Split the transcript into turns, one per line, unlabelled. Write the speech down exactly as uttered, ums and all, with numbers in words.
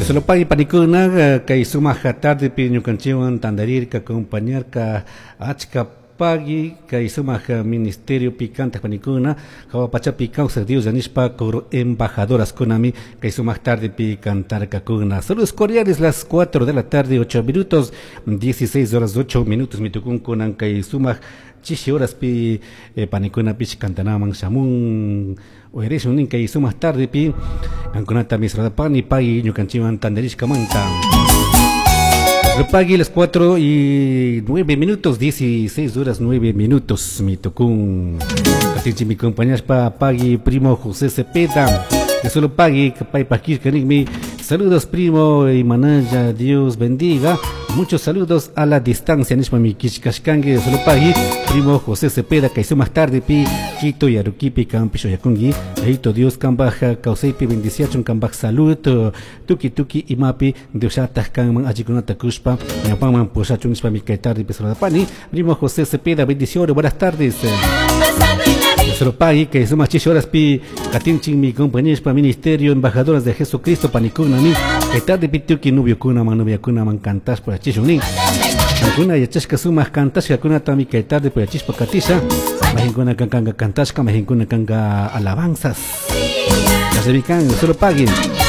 Solo pagui panikuna kay sumaq tardepi ñukanchikwan tantarirka acompañarka achka pagui kay sumaq ministerio pi kantaq panikuna hawa pachapi kawsaq Dios nishpa coro embajadoras kunami kay sumaq tardepi cantarkakuna. Saludos cordiales, las cuatro de la tarde ocho minutos, dieciséis horas ocho minutos mitukunkunan kay sumaq chishi horaspi eh, panikunapish kantanaman shamun uyarishun nin kay sumaq tardepi kankunata misradapani pagui ñukanchikwan tantarishkamanta. Pagui, las cuatro y nueve minutos, dieciséis horas nueve minutos, mi tocún. Katinchi mi compañera pagui primo José Cepeda. Que solo pagui, pay pakir mi. Saludos, primo y manaya, Dios bendiga. Muchos saludos a la distancia, nishpa mi kishkashkangi, solo pagui, primo José Cepeda, que hizo más tarde pi, Quito y Aruquipi, campisho yakungi, Eito Dios kambaj kawsaypi bendiciachun kambaj salud, tuki tuki imapi, Dioshataj kanman achikunata kushpa, ñapaman pushachun nishpa mi kay tarde pani, primo José Cepeda, bendiciones, buenas tardes. Solo pagui, que suma chish horas pi, katinchin mi compañeros pa ministerio, embajadoras de Jesucristo, panikuna mi, que tarde pi tuki nubio kuna man nubia kuna man cantas por achishun nin. Kuna yachashka sumaq kantashka kunata mi kay tarde por achispa katisha, mahinkuna kankanga kantashka, mahinkuna kanga alabanzas. Ya se solo paguen.